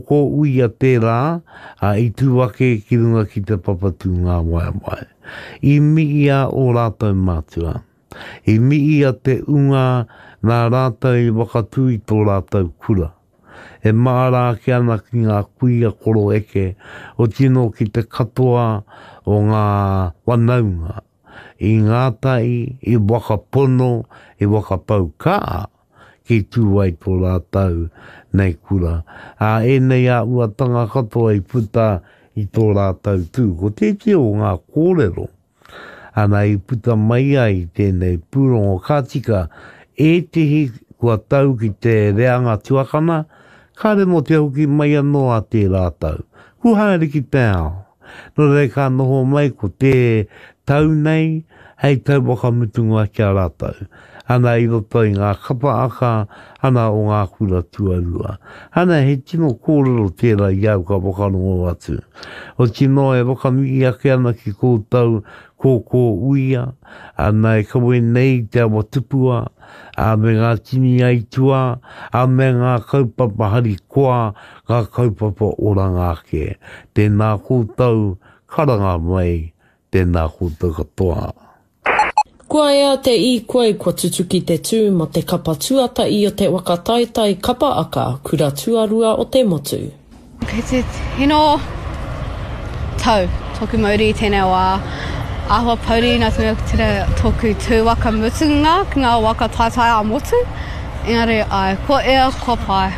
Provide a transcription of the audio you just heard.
kōkō uia tērā, ā, i tū ake ki runga ki te papa tūngāwaewae. I miia ō rātou mātua. I miia te unga nā rātou i whakatū i tō rātou kura. E māra ake ana ki ngā kuia koroeke, otinō ki te katoa o ngā whanaunga, i ngātahi, i whakapono, i whakapau kaha ki tū ai tō rātou nei kura. Ā, ēnei āhuatanga katoa i puta i tō rātou tū. Ko tētehi o ngā kōrero, ana i puta mai ai tēnei pūrongo ka tika ētehi kua tau ki te reanga tuakana, kāre mō te hoki mai anō a tērā tau. Kua haere ki te ao. Nō reira ka noho mai ko te tau nei hei tau whakamutunga ki a rātou. Ana i roto i ngā kapa aka ana o ngā kura tuarua. Ana he tino kōrero tērā i au ka whakarongo atu. Otinoa e whakamihi ake ana ki koutou kōkō uia, ana e kawe nei i te awa tupua, ā, me ngā tini aituā, ā, me ngā kaupapa harikoa, ngā kaupapa oranga ake. Tēnā koutou, karanga mai, tēnā koutou katoa. Kua ea te īkoi kua tutuki te tū mo te kapa tuatahi o te waka taetae kapa aka kura tuarua o te motu. Kei te tino tau toku mauri i tenei wa. Ahua pouri na te mea ko tera toku tu waka mutunga ki nga waka taetae a motu. Engari ae, kua ea, kua pai.